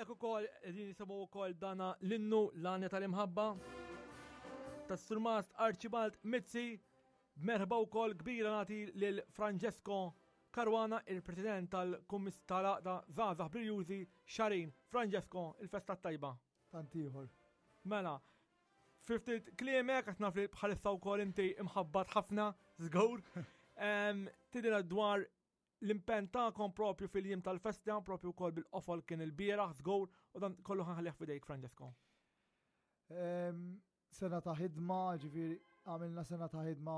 Hawnhekk ukoll qegħdin nisimgħu wkoll dana l-innu l-għanja tal-imħabba tas-Surmast Archibald Mizzi. Merħba wkoll kbira nagħti lil Francesco Caruana, il-President tal-Kummis tal-Għaqda Żgħażagħ Brijużi Xarin. Francesco, il-festa tajba. Tant ieħor. Mela, fiftit kliemek, għax naf li bħalissa wkoll inti imħabbat ħafna, żgur. Tidina dwar l-impenn tagħkom propju fil-jiem tal-festa, propju wkoll bil-qofol kien il-bieraħ, żgur, u dan kollu ħanħallih f'idejk, Francesco. Sena ta' ħidma, ġifieri għamilna sena ta' ħidma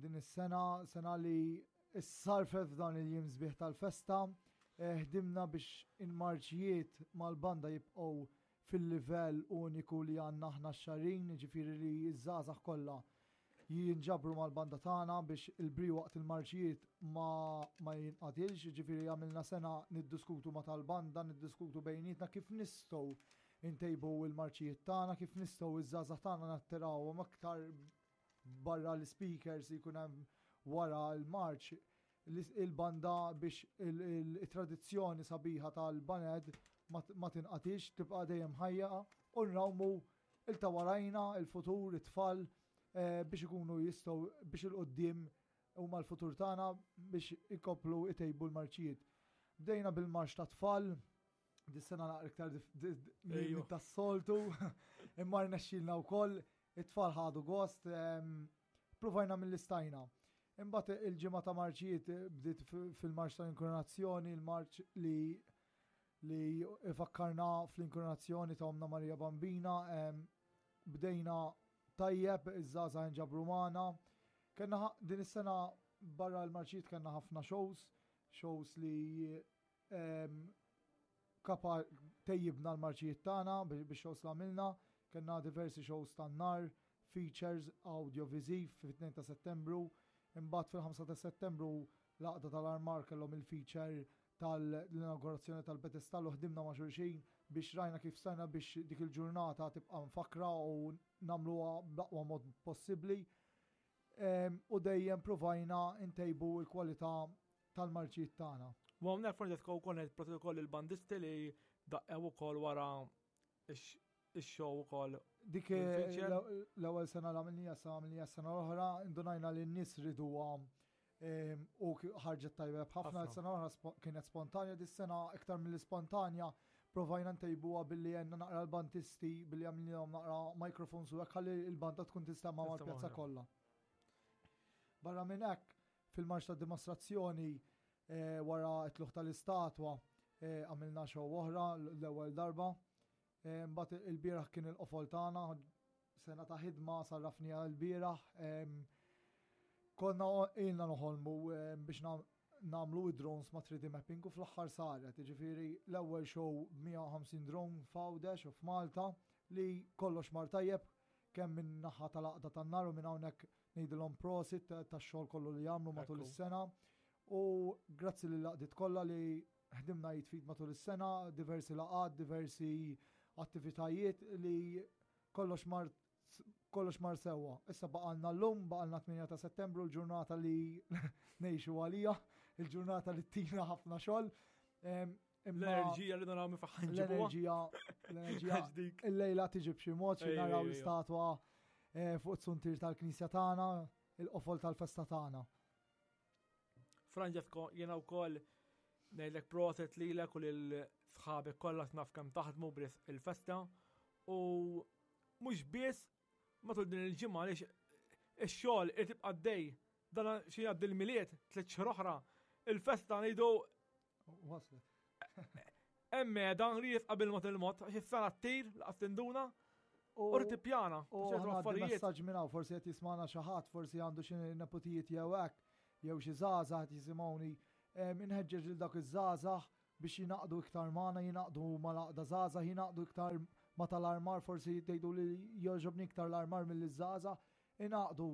din is-sena, sena li issarfet f'dan il-jiem sbieħ tal-festa. Eh, ħdimna biex il-marċijiet mal-banda jibqgħu fil-livell uniku li għandna aħna x-xarin, ġifieri li ż-żgħażagħ kollha jinġabru mal-banda tagħna biex il-bri waqt il-marċijiet ma, ma jinqatilx, ġifieri għamilna sena niddiskutu ma tal-banda, niddiskutu bejnietna kif nistgħu intejbu il-marċijiet tagħna, kif nistgħu iż-żgħażagħ tagħna nattirawhom aktar barra l-speakers jkun hemm wara l-marċ il-banda biex il-tradizzjoni sabiħa tal-baned ma tinqatix, tibqa' dejjem ħajja u nrawmu il-ta' warajna, il-futur, it-tfal eh, biex ikunu jistgħu biex il-qoddim huma l-futur tagħna biex ikoplu itejbu l-marċijiet. Bdejna bil-marċ ta' tfal, dis-sena naqra iktar minn tas-soltu, imma rnexxilna wkoll, it-tfal ħadu gost, provajna mill-istajna. Imbagħad il-ġimgħa ta' marċijiet bdiet fil-marċ tal-inkoronazzjoni, il-marċ li li ifakkarna fl-inkoronazzjoni ta' Omna Marija Bambina, bdejna tajjeb, iż-żgħażagħ inġabru magħna. Kenna din is-sena barra l-marċijiet kellna ħafna shows, shows li kapa tejjibna l-marċijiet tagħna biex shows li għamilna, kellna diversi shows tan-nar, features audiovisiv fit-2 ta' Settembru, imbagħad fil-5 ta' Settembru l-għaqda tal-armar kellhom il-feature tal-inaugurazzjoni tal-pedestall u ħdimna ma' xulxin biex rajna kif stajna biex dik il-ġurnata tibqa' mfakra u nagħmluha bl-aqwa mod possibbli. U dejjem provajna ntejbu l-kwalità tal-marċijiet tagħna. U hawnhekk Francesco wkoll ngħid protokoll il-bandisti li daqqew ukoll wara ix-show ukoll. Dik l-ewwel sena l-għamilnija sa għamilnija sena l-oħra, indunajna li n-nies riduha u ħarġet tajjeb ħafna sena l-oħra kienet spontanja, dis-sena iktar mill-spontanja provajna ntejbuha billi għenna naqra l-bandisti billi għamilnihom naqra microphones u hekk ħalli l-banda tkun tista' ma' mal-pjazza kollha. Barra minn hekk, fil-marċ ta' dimostrazzjoni eh, wara t-tluħ tal-istatwa eh, għamilna show oħra l-ewwel darba. Eh, mbagħad il-bieraħ kien il-qofol tagħna, sena ta' ħidma sarrafniha l-bieraħ. Konna ilna noħolmu biex namlu id-drones ma' 3D mapping u fl-aħħar saret, ġifieri l-ewwel show 150 drone f'Għawdex u f'Malta li kollox mar tajjeb kemm minn naħa tal-għaqda tan-nar u minn hawnhekk ngħidilhom prosit tax-xogħol kollu li jagħmlu matul is-sena. U grazzi lil laqdiet kollha li ħdimna jitfid matul is-sena, diversi laqgħat, diversi attivitajiet li kollox mar kollox mar sewwa. Issa baqalna l-lum, baqalna 8 ta' settembru, l-ġurnata li ngħixu għalija, il-ġurnata li tina ħafna xogħol. L-enerġija li naraw minn faħħan L-enerġija, l-enerġija. Il-lejla tiġi b'xi mod xi naraw l-istatwa eh, fuq it-suntir tal-knisja tagħna, il-qofol tal-festa tagħna. Francesco, jiena wkoll ngħidlek proset lilek u lil sħabek kollha naf kemm taħdmu bris il-festa u mhux biss matul din il-ġimgħa għaliex ix-xogħol irid tibqa' dej dan xi jgħaddi l-miliet tliet xhur oħra il-festa ngħidu Waslet. Emme dan li qabel ma il-mod, għax is-sena ttir, laqas tinduna, u rrid tippjana. U affarijiet. Messaġġ minn hawn, forsi qed jismana xi ħadd, forsi għandu xi nepotijiet jew hekk, jew xi żgħażagħ qed jisimgħuni. Inħeġġeġ lil dak iż-żgħażagħ biex jingħaqdu iktar magħna, jingħaqdu mal-għaqda żgħażagħ, jingħaqdu iktar ma tal-armar, forsi tgħidu li jogħġobni iktar l-armar mill-żgħażagħ. Ingħaqdu,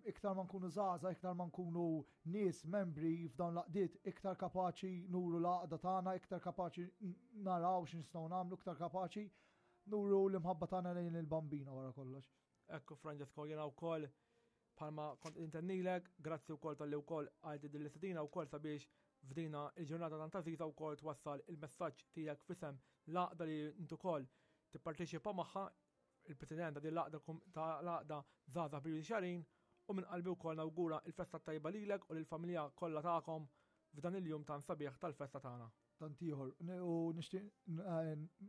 iktar ma nkunu żgħażagħ, iktar ma nkunu nies membri f'dawn l-għaqdiet, iktar kapaċi nuru l-għaqda tagħna, iktar kapaċi naraw x'nistgħu nagħmlu, iktar kapaċi nuru l-imħabba tagħna lejn il-Bambina wara kollox. Ekku Francesco, jiena wkoll bħalma kont intennilek, grazzi wkoll talli wkoll għajti din l-istedina wkoll sabiex f'dina il-ġurnata tant għażiża wkoll twassal il-messaġġ tiegħek f'isem l-għaqda li int ukoll tipparteċipa magħha, il-President ta' din l-għaqda ta' l-għaqda Żgħażagħ Birri Xarin, u minn qalbi wkoll nawgura l-festa t-tajba lilek u lill-familja kollha tagħkom f'dan il-jum tant sabiħ tal-festa tagħna. Tant ieħor, u nixtieq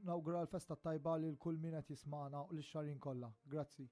nawgura l-festa t-tajba lil kull min qed jismagħna u lix-Xagħrin kollha. Grazzi.